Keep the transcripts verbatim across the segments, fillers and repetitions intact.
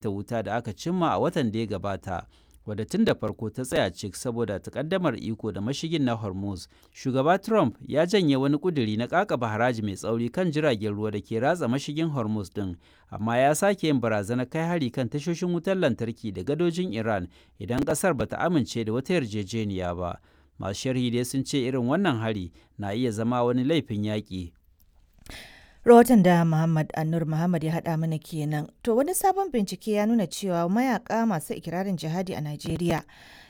Ta wuta da aka cimma a watan da ya gabata, wadda tun da farko ta tsaya cik saboda takaddamar iko da mashigin na Hormuz, Shugaba Trump ya janye wani ƙuduri na ƙaƙaba haraji mai tsauri kan jiragen ruwa da ke ratsa mashigin Hormuz ɗin, amma ya sake yin barazanar kai hari kan tashoshin wutar lantarki da gadojin Iran idan ƙasar ba ta amince da wata yarjejeniya ba. Masu sharhi dai sun ce irin wannan hari na iya zama wani laifin yaƙi. Rahoton da Muhammad Annur Muhammad ya haɗa mana kenan. To, wani sabon bincike ya nuna cewa mayaka masu ikirarin jihadi a Najeriya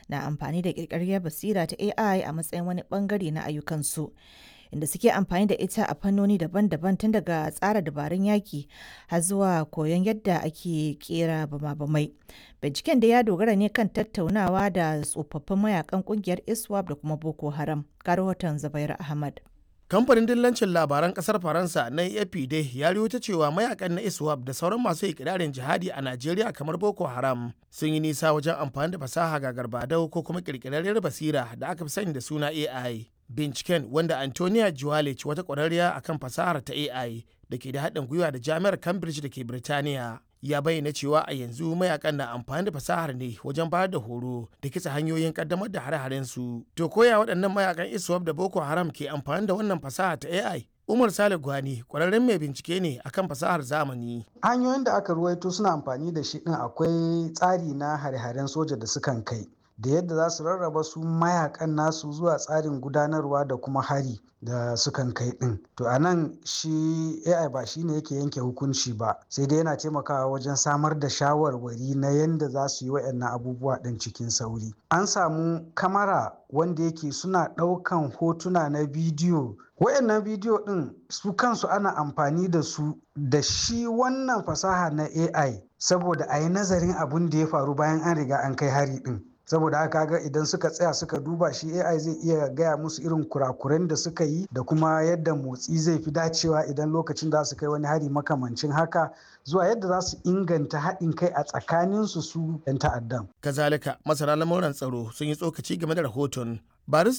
na amfani da ƙirƙirar basira ta A I a matsayin wani bangare na ayyukansu, inda suke amfani da ita a fannoni daban-daban, tun daga tsara dabarun yaƙi har zuwa koyon yadda ake kera bama-bamai. Binciken da ya dogara ne kan tattaunawa da tsofaffin mayakan kungiyar ISWAP da kuma Boko Haram. Ga rahoton Zubairu Ahmad. Kamfanin dillancin labaran kasar Faransa na A F P dai ya ta cewa mayakan na ISWAP da sauran masu ikirarin jihadi a Najeriya kamar Boko Haram sun yi nisa wajen amfani da fasaha ga garbadau ko kuma kirkirarriyar basira da aka fi sani da suna A I. Binciken, wanda Antonia Juwalic, wata kwararriya akan fasahar ta A I da ke da haɗin gwiwa da Jami'ar Cambridge da ke Birtaniya, ya bayyana cewa a yanzu mayakan na amfani da fasahar ne wajen bayar da horo da kitsa hanyoyin kaddamar da hare-haren su. To, koya waɗannan mayakan ISWAP da Boko Haram ke amfani da wannan fasaha ta A I? Umar Sale Gwani kwararren mai bincike ne akan fasahar zamani. Hanyoyin da aka ruwaito suna amfani da shi ɗin, akwai tsari na hare-haren soja da sukan kai, da yadda za su rarraba su mayakan nasu zuwa tsarin gudanarwa da kuma hari da sukan kai din. To, a nan shi A I ba shi ne yake yanke hukunci ba, sai dai yana taimakawa wajen samar da shawarwari na yadda za su yi wa'annan abubuwa din cikin sauri. An samu kamara wanda yake suna ɗaukan hotuna na bidiyo. Wayannan bidiyo din su kansu ana amfani da su da shi wannan fasaha na A I saboda a yi nazarin abun da ya faru bayan an riga an kai hari din. Saboda haka ga idan suka tsaya suka duba shi, A I zai iya gaya musu irin kurakuren da suka yi da kuma yadda motsi zai fi dacewa idan lokacin za su kai wani hari makamancin haka, zuwa yadda za su inganta haɗin kai a tsakaninsu su 'yan ta'addan. Kazalika, masana lamuran tsaro sun yi tsokaci game da rahoton. Barista